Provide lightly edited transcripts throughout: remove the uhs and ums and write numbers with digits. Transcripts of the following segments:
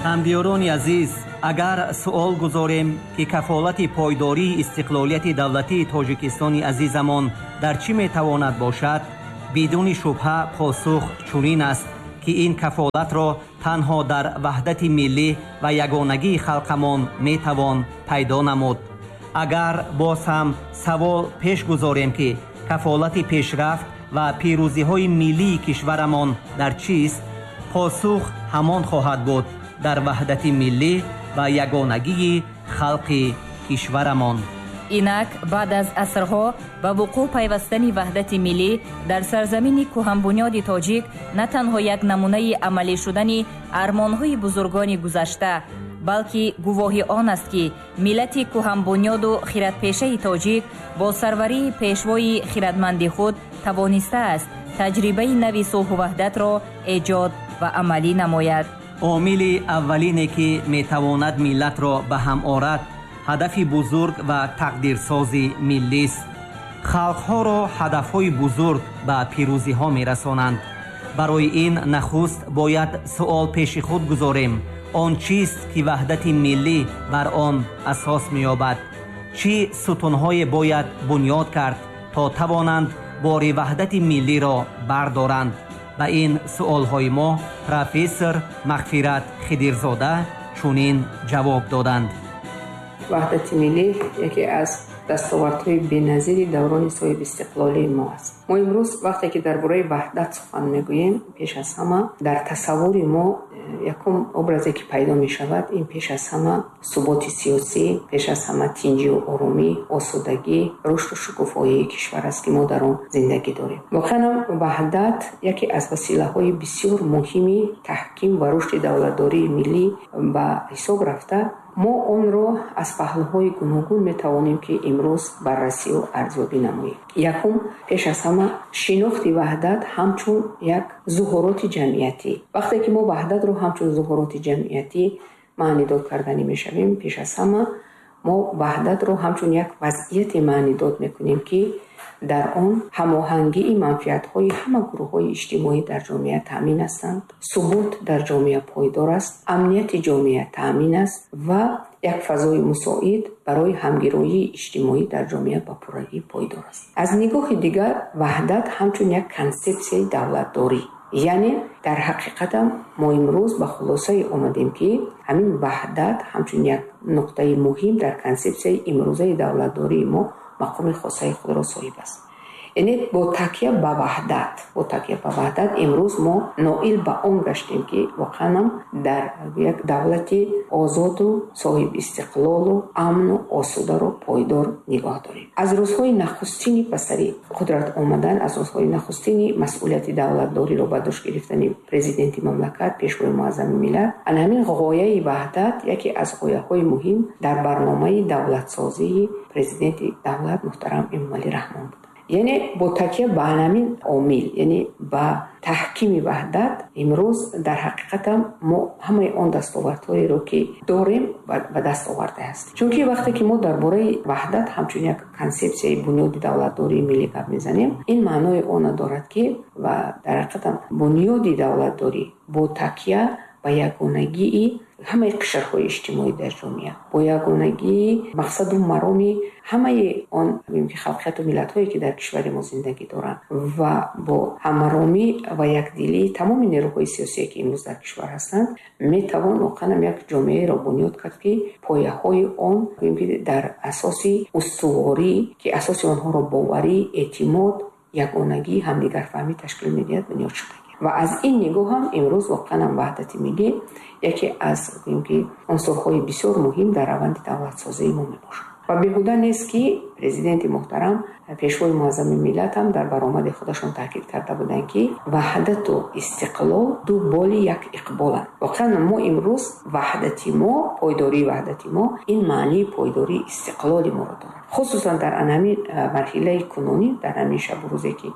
Ҳамдиёрони азиз, агар суол гузорем, ки кафолати пойдории истиқлолияти давлатии Тоҷикистони азизамон дар чӣ метавонад бошад, бидуни шубҳа посух чунин аст, ки ин кафолатро танҳо дар ваҳдати миллӣ ва ягонагии халқамон метавон пайдо намуд. Агар боз ҳам савол пеш гузорем, ки кафолати пешрафт ва пирӯзиҳои миллии кишварамон дар чист, посух ҳамон хоҳад буд: дар ваҳдати миллӣ ва ягонагии халқи кишварамон. Инак, баъд аз асрҳо ба вуқӯъ пайвастани ваҳдати миллӣ дар сарзамини кӯҳанбунёди тоҷик на танҳо як намунаи амалӣ шудани армонҳои бузургони гузашта, балки гувоҳи он аст, ки миллати кӯҳанбунёду хиратпешаи тоҷик бо сарварии пешвои хиратманди худ тавонистааст таҷрибаи нави сулҳу ваҳдатро эҷод ва амалӣ намояд. Омили аввалине, ки метавонад миллатро ба ҳам орад, ҳадафи бузург ва тақдирсози миллист. Халқҳоро ҳадафҳои бузург ба пирӯзиҳо мерасонанд. Барои ин нахуст бояд суол пеши худ гузорем: он чист, ки ваҳдати миллӣ бар он асос меёбад? Чӣ сутунҳое бояд бунёд кард, то тавонанд бори ваҳдати миллиро бардоранд? Ба ин суолҳои мо профессор Мағфират Хидирзода чунин ҷавоб доданд. Ваҳдати миллӣ яке аз дастовардҳои беназири даврони соҳибистиқлолии мо аст. Мо имрӯз, вақте ки дар бораи ваҳдат сухан мегӯем, пеш аз ҳама дар тасаввури мо якум образе, ки пайдо мешавад, ин пеш аз ҳама суботи сиёсӣ, пеш аз ҳама тинҷию оромӣ, осудагӣ, рушду шукуфоии кишвар аст, ки мо дар он зиндагӣ дорем. Воқеан ваҳдат яке аз василаҳои бисёр муҳими таҳким ва рушди давлатдории миллӣ ба ҳисоб рафта, мо онро аз паҳлӯҳои гуногун метавонем, ки имрӯз баррасию арзёбӣ намоем. Якум, пеш аз ҳама, шинохти ваҳдат ҳамчун як зуҳуроти ҷамъиятӣ. Вақте ки мо ваҳдатро ҳамчун зуҳуроти ҷамъиятӣ маънидод карданӣ мешавем, пеш аз ҳама мо ваҳдатро ҳамчун як вазъияте маънидод мекунем, ки дар он ҳамоҳангии манфиатҳои ҳама гурӯҳҳои иҷтимоӣ дар ҷомеа таъмин ҳастанд, субот дар ҷомеа пойдор аст, амнияти ҷомеа таъмин аст ва як фазои мусоид барои ҳамгироии иҷтимоӣ дар ҷомеа ба пуррагӣ пойдор аст. Аз нигоҳи дигар, ваҳдат ҳамчун як консепсияи давлатдорӣ, яъне дар ҳақиқатам мо имрӯз ба хулосае омадем, ки ҳамин ваҳдат ҳамчун як нуқтаи муҳим дар консепсияи имрӯзаи давлатдории мо мақоми хосаи худро соҳиб аст. Яъне бо такя ба ваҳдат имрӯз мо ноил ба он гаштем, ки воқеанам дар як давлати озоду соҳибистиқлолу амну осударо пойдор нигоҳ дорем. Аз рӯзҳои нахустини ба сари қудрат омадан, аз рӯзҳои нахустини масъулияти давлатдориро ба дӯш гирифтани президенти мамлакат, пешвои муаззами миллат, ана ҳамин ғояи ваҳдат яке аз ғояҳои муҳим дар барномаи давлатсозии президенти давлат муҳтарам Эмомалӣ Раҳмон буд. Яъне бо такя ба ҳамин омил, яъне ба таҳкими ваҳдат, имрӯз дар ҳақиқатам мо ҳамаи он дастовардҳоеро, ки дорем, ба даст овардаастем. Чунки вақте ки мо дар бораи ваҳдат ҳамчун як консепсияи бунёди давлатдории миллӣ гап мезанем, ин маънои онро дорад, ки ва дар ҳақиқатам бунёди давлатдорӣ бо такя ба ягонагии ҳамаи қишрҳои иҷтимоӣ дар ҷомеа, бо ягонагии мақсаду мароми ҳамаи он халқияту миллатҳое, ки дар кишвари мо зиндагӣ доранд, ва бо ҳамаромӣ ва якдилии тамоми нерӯҳои сиёсие, ки имрӯз дар кишвар ҳастанд, метавон воқеанам як ҷомеаеро бунёд кард, ки пояҳои он дар асоси устуворӣ, ки асоси онҳоро боварӣ, эътимод, ягонагӣ, ҳамдигарфаҳмӣ ташкил медиҳад, бунёд шуда. Ва аз ин нигоҳ ҳам имрӯз воқеанам ваҳдати миллӣ яке аз унсурҳои бисёр муҳим дар раванди давлатсозии мо мебошад. Ва беҳуда нест, ки президенти муҳтарам, пешвои муаззами миллат ҳам дар баромади худашон таъкид карда буданд, ки ваҳдату истиқлол ду боли як иқболанд. Воқеан мо имрӯз ваҳдати мо, пойдории ваҳдати мо ин маънии пойдории истиқлоли моро дорад. Хусусан дар ҳамин марҳилаи кунунӣ, дар ҳамин шабу рӯзе, ки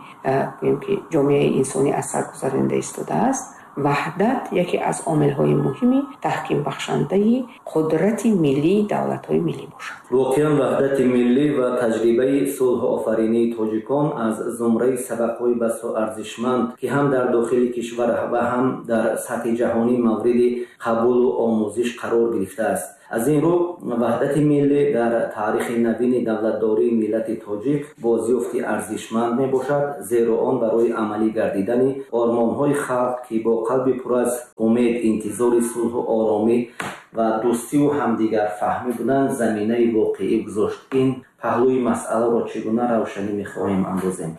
гӯем, ки ҷомеаи инсонӣ аз сар гузаронида истодааст, Ваҳдат яке аз омилҳои муҳими таҳкимбахшандаи қудрати миллии давлатҳои миллӣ бошад. Воқеан, ваҳдати миллӣ ва таҷрибаи сулҳофаринии тоҷикон аз зумраи сабақҳои басо арзишманд, ки ҳам дар дохили кишвар ва ҳам дар сатҳи ҷаҳонӣ мавриди қабулу омӯзиш қарор гирифтааст. Аз ин рӯ, ваҳдати миллӣ дар таърихи навини давлатдории миллати тоҷик бозёфти арзишманд мебошад, зеро он барои амалӣ гардидани ормонҳои халқ, ки бо қалби пур аз умед интизори сулҳу оромӣ ва дӯстиву ҳамдигарфаҳмӣ буданд, заминаи воқеӣ гузошт. Ин паҳлӯи масъаларо чӣ гуна равшанӣ мехоҳем андозем?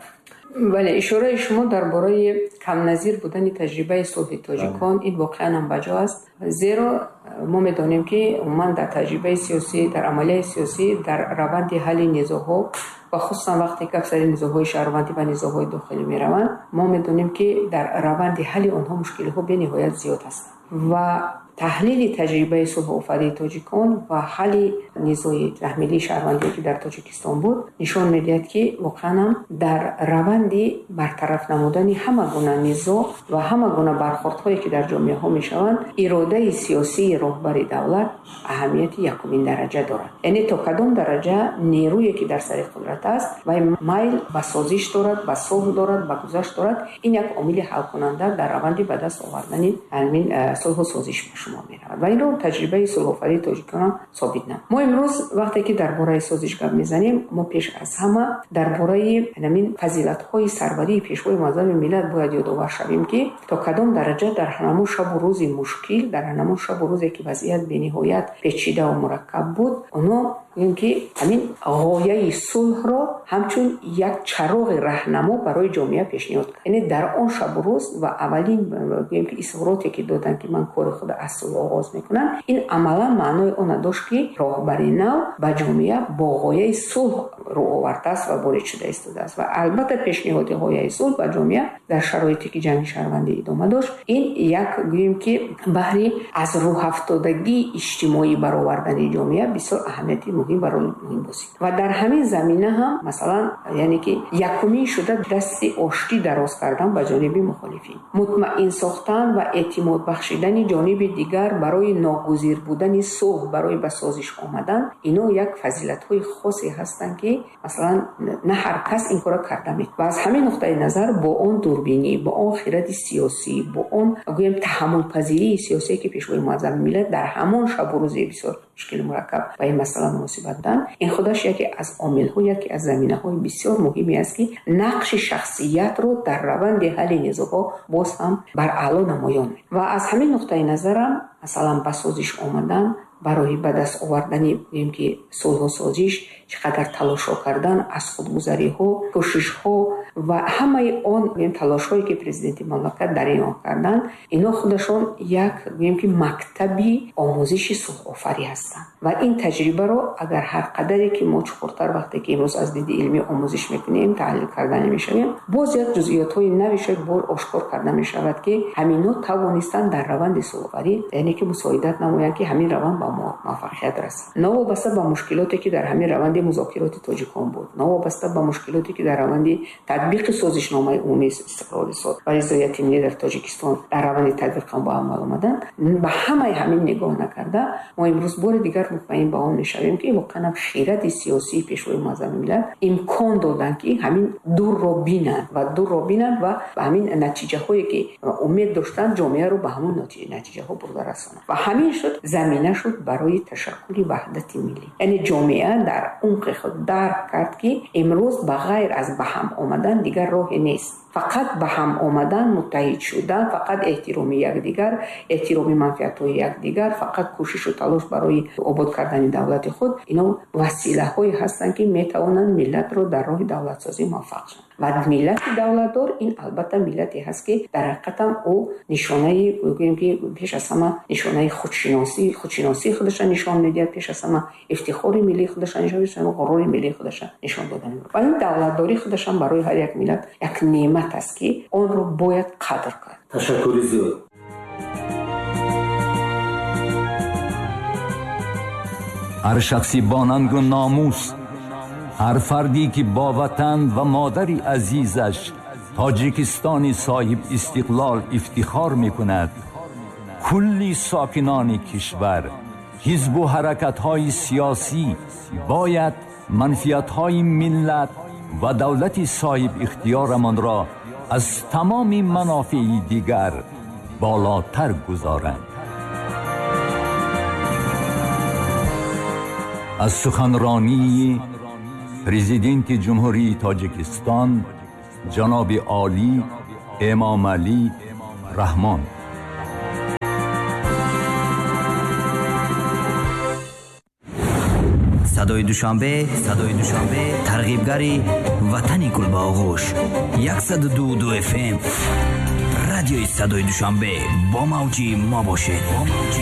Бале, ишораи шумо дар бораи камназир будани таҷрибаи сулҳи тоҷикон, ин воқеан ҳам баҷо аст, зеро мо медонем, ки умуман дар таҷрибаи сиёсӣ, дар амалияи сиёсӣ, дар раванди ҳалли низоъҳо ва хусусан вақте гап сари низоъҳои шаҳрвандӣ ва низоъҳои дохилӣ мераванд, мо медонем, ки дар раванди ҳалли онҳо мушкилиҳо бениҳоят зиёд ҳастанд. Ва таҳлили таҷрибаи сулҳофарии тоҷикон ва ҳалли низои таҳмилии шаҳрвандие, ки дар Тоҷикистон буд, нишон медиҳад, ки воқеан ҳам дар раванди бартараф намудани ҳама гуна низоъ ва ҳама гуна бархӯрдҳое, ки дар ҷомеаҳо мешаванд, иродаи сиёсии роҳбари давлат аҳамияти якумин дараҷа дорад. Яъне то кадом дараҷа нерӯе, ки дар сари қудрат аст, вай майл ба созиш дорад, ба сулҳ дорад, ба гузашт дорад, ин як омили ҳалкунанда дар раванди ба даст овардани ҳамин сулҳу созиш ба шумор меравад. Ва инро таҷрибаи сулҳофарии тоҷикон собит намуд. Мо имрӯз вақте ки дар бораи созиш гап мезанем, мо пеш аз ҳама дар бораи ҳамин фазилатҳои сарварии Пешвои муаззами миллат бояд ёдовар шавем, ки то кадом дараҷа дар ҳамон шабу рӯзи мушкил, дар ҳамон шабу рӯзе, ки вазъият бениҳоят печидаву мураккаб буд, онҳо гӯем, ки ҳамин ғояи сулҳро ҳамчун як чароғи раҳнамо барои ҷомеа пешниҳод кард. Яъне дар он шабу рӯз ва аввалин, гӯем, ки изҳороте, ки доданд, ки ман кори худро аз сулҳ оғоз мекунам, ин амалан маънои онро дошт, ки роҳбари нав ба ҷомеа бо ғояи сулҳ рӯ овардааст ва ворид шуда истодааст. Ва албатта, пешниҳоди ғояи сулҳ ба ҷомеа дар шароите, ки ҷанги шаҳрвандӣ идома дошт, ин як, гӯем, ки баҳри аз рӯҳафтодагии иҷтимоӣ баровардани ҷомеа бисёр аҳамияти муҳим ва роли муҳим бозид. Ва дар ҳамин замина ҳам, масалан, яъне ки якумин шуда дасти оштӣ дароз кардан ба ҷониби мухолифин, мутмаин сохтан ва эътимод бахшидани ҷониби дигар барои ногузир будани сулҳ, барои ба созиш омадан, ино як фазилатҳои хосе ҳастанд, ки масалан на ҳар кас ин корро карда метавонад. Ва аз ҳамин нуқтаи назар бо он дурбинӣ, бо он хиради сиёсӣ, бо он, гӯем, таҳаммулпазирии сиёсие, ки Пешвои муаззами миллат дар ҳамон шабу рӯзи бисёр мушкили мураккаб ба ин масъала муносибат доданд, ин худаш яке аз омилҳо, яке аз заминаҳои бисёр муҳиме аст, ки нақши шахсиятро дар раванди ҳалли низоъҳо боз ҳам бар аъло намоён. Ва аз ҳамин нуқтаи назарам, масалан, ба созиш омадан, барои ба даст овардани, гӯем, ки сулҳу созиш чӣ қадар талошҳо кардан, аз худгузариҳо, кӯшишҳо ва ҳамаи он, гӯем, талошҳое, ки президенти мамлакат дар ин роҳ карданд, ино худашон як, гӯем, ки мактаби омӯзиши сулҳофарӣ ҳастанд. Ва ин таҷрибаро агар ҳар қадаре ки мо чуқуртар, вақте ки имрӯз аз диди илмӣ омӯзиш мекунем, таҳлил карда мешавем, боз як ҷузъиётҳои нави шояд бор ошкор карда мешавад, ки ҳамино тавонистанд дар раванди сулҳофарӣ, яъне ки мусоидат намоянд, ки ҳамин раванд ба муваффақият расад. Новобаста ба мушкилоте, ки дар ҳамин раванди музокироти тоҷикон буд, новобаста ба мушкилоте, ки дар раванди татбиқи созишномаи умумии истиқлоли ва ризояти миллӣ дар Тоҷикистон дар раванди татбиқи он ба амал омаданд, ба ҳамаи ҳамин нигоҳ накарда, мо имрӯз бори дигар мутмаин ба он мешавем, ки воқеан хиради сиёсии Пешвои муаззами миллат имкон доданд, ки ҳамин дурро бинанд ва дурро бинанд ва ба ҳамин натиҷаҳое, ки умед доштанд, ҷомеаро ба ҳамон натиҷаҳо бурда расонанд. Ва ҳамин шуд замина шуд барои ташаккули ваҳдати миллӣ. Яъне ҷомеа дар умқи худ дарк кард, ки имрӯз ба ғайр аз ба ҳам омадан дигар роҳе нест. Фақат ба ҳам омадан, муттаҳид шудан, фақат эҳтироми якдигар, эҳтироми манфиатҳои якдигар, фақат кӯшишу талош барои обод кардани давлати худ, ино василаҳое ҳастанд, ки метавонанд миллатро дар роҳи давлатсозӣ муваффақ шаванд. Ва миллати давлатдор ин албатта миллате ҳаст, ки дар ҳақиқатам ӯ нишонаи, гӯем, ки пеш аз ҳама нишонаи худшиносӣ, худшиносии худашро нишон медиҳад, пеш аз ҳама ифтихори миллии худашро нишон медиҳад, ғурури миллии худашро нишон дода мебарад. Ва ин давлатдорӣ худашам барои ҳар як миллат як неъмат аст, ки онро бояд қадр кард. Ташаккури зиёд. Ҳар шахси бо нангу номус, ҳар фарде ки бо ватан ва модари азизаш Тоҷикистони соҳибистиқлол ифтихор мекунад, кулли сокинони кишвар, ҳизбу ҳаракатҳои сиёсӣ бояд манфиатҳои миллат ва давлати соҳибихтиёрамонро аз тамоми манофеи дигар болотар гузоранд. Аз суханронии Президенти Ҷумҳурии Тоҷикистон ҷаноби олӣ Эмомалӣ Раҳмон. Садои Душанбе, садои Душанбе, тарғибгари ватани гулбаоғӯш. 102,2 FM, радиои садои Душанбе, бо мавҷи мо бошед.